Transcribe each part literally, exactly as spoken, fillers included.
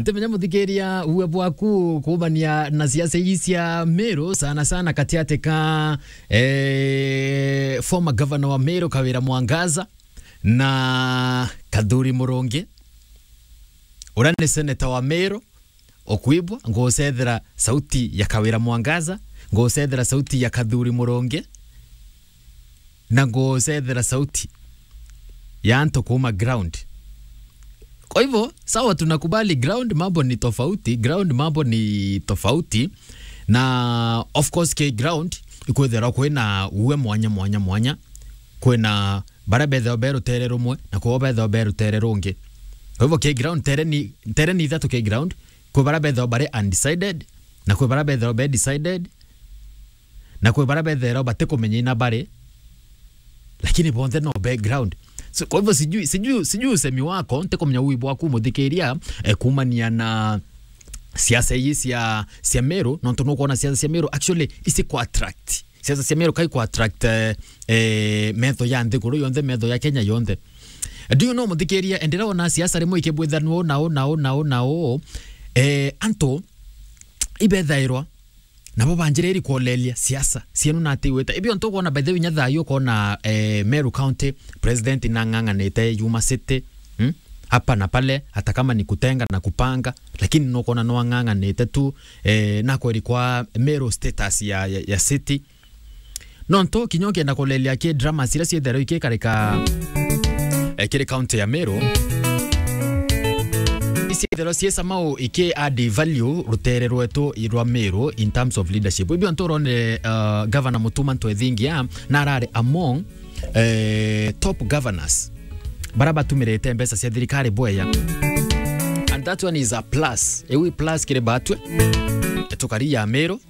Timenya muthikiria uwe bwaku kuumania na siasa ii cia Meru, sana sana katiati ka, eh, former governor wa Meru Kawira Mwangaza na Kathuri Murungi, uria ni senator wa Meru. Ukwibwa, ngucethera sauti ya Kawira Mwangaza, ngucethera sauti ya Kathuri Murungi, na ngucethera sauti ya antu kuuma ground. Kwa hivyo, sawa, tunakubali ground mambo ni tofauti, ground mambo ni tofauti, na of course, ki ground ikwithirwa kwina uwe mwanya, mwanya, mwanya, kwina baria bethagwa be rutere rumwe, na kwao bethagwa be rutere rungi. Kwa hivyo, ki ground, ntere ni, ntere ni ithatu ki ground, kwi baria bethagwa bari undecided, na kwi baria bethagwa be decided, na kwi baria bethagwa batikumenya ina bari, lakini bonthe no be ground. So, kwa hivyo, sijui, sijui, sijui usemi wako, ntikumenya ui bwaku muthikiria, eh, kuumania na siasa ii cia, cia Meru, nontu nukwona siasa cia Meru actually isi ku attract. Siasa cia Meru kai ku attract, eh, eh, metho ya nthiguru yonthe, metho ya Kenya yonthe. Do you know, muthikiria, enderea ona siasa rimwe ikibwithanua na u, na u, na u, na u, eh, antu ibethairwa nabo banjiriri kuoleria siasa cienu na ati igwita. Ibio ntu ukwona, by the way, nya thaa ii ukwona, eh, Meru County president nang'ang'anite yuma city, hmm? Hapa na pale, hata kama ni kutenga na kupanga, lakini nukwona no ang'ang'anite tu, eh, na kweri kwa Meru status ya, ya, ya city. Nontu kinya ukienda kulelia ki drama ciria cietherwa ikikarika, eh, kiri county ya Meru, icietherwa ciesa mau iki add value rutere rwetu rwa Meru in terms of leadership. Ibio ntu urone, uh, Governor Mutuma Ntwethingia na arari among, eh, top governors bara batumirite mbeca cia thirikari bweya. And that one is a plus. Iu i plus kiri batwe tukari ya Meru.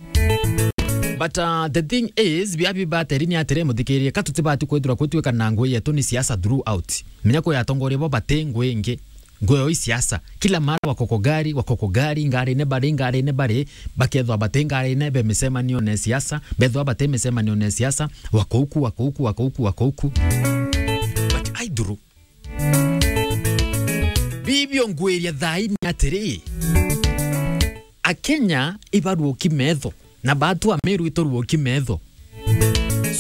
But, uh, the thing is, bia bibateri ni atiri, muthikirie, ka tutibati kwithirwa kwitwika na ngui yetu ni siasa throughout. Menya kwi atongoria bo bati ngui ingi. Ngui yo i siasa. Kila mara wako kwa gari, wako kwa gari, ngarine bari, ngarine bari, bakethwa bati ngarine be micemanio ne siasa, bethwa bati micemanio ne siasa, wako uku, wako uku, wako uku, wako uku. But I through Bibio ngwiria thaa ii ni atiri, Akenya ibaruoki metho, na batu Ameru ituruoki metho.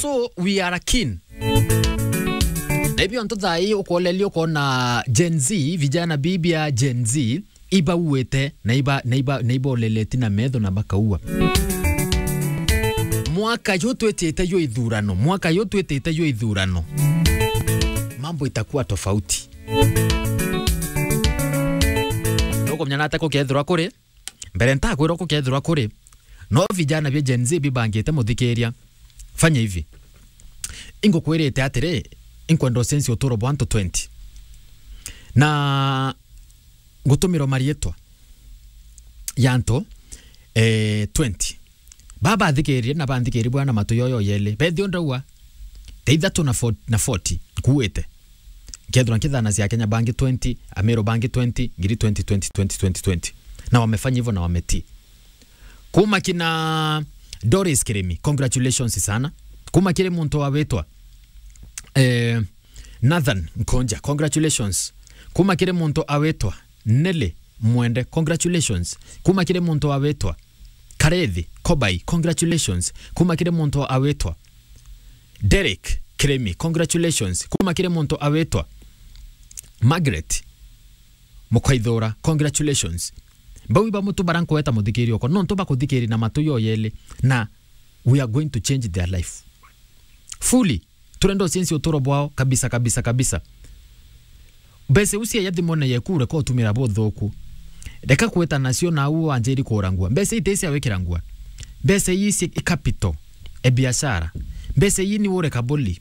So, we are keen. Na ibio ntu thaa ii ukolelia ukona Gen Z, vijana bibia Gen Z, ibauite na iba, na iba, na iboleleti na metho na bakaua. Mwaka yu twitite yu ithurano, mwaka yu twitite yu ithurano, mambo itakuwa tofauti. Nukumenya nata kukethirwa kuri? Mbere ntakwira kukethirwa kuri. No vijana bia Gen Z bibangite, muthikiria. Fanya hivi. Ingukwirite atiri, inkwenda ucenjie uturo bwa antu twenty. Na ngutumirwa marietwa ya antu, eh, twenty. Baba athikiririe na banthikiririe bwana matu yoyo yeli. Bethio ndaua, te ithatu na forty, na forty, nkuite. Nkethirwa nkithana cia Kenya bangi twenty, Ameru bangi twenty, ngiri twenty, twenty, twenty, twenty, twenty. Na wamefanya hivyo na wametii. Kuma kina Doris Kirimi, congratulations sana. Kuma kiri muntu awitwa, eh, Nathan Nkonja, congratulations. Kuma kiri muntu awitwa Nelly Mwende, congratulations. Kuma kiri muntu awitwa Karethi Kobai, congratulations. Kuma kiri muntu awitwa Derek Kirimi, congratulations. Kuma kiri muntu awitwa Margaret Mukaithura, congratulations. Bau iba mutu bara nkweta muthikiri okwa, nontu bakuthikiri na matu yoyeli, na we are going to change their life fully. Turenda ucenjia uturo bwao kabisa, kabisa, kabisa. Mbeca iu cia thimone yeku ureka utumira buthuku. Reka kwita nacio na u wanjiri kurangua. Mbeca iti cia wikirangua. Mbeca ii ci capital, e biashara. Mbeca ii ni ure kabuli.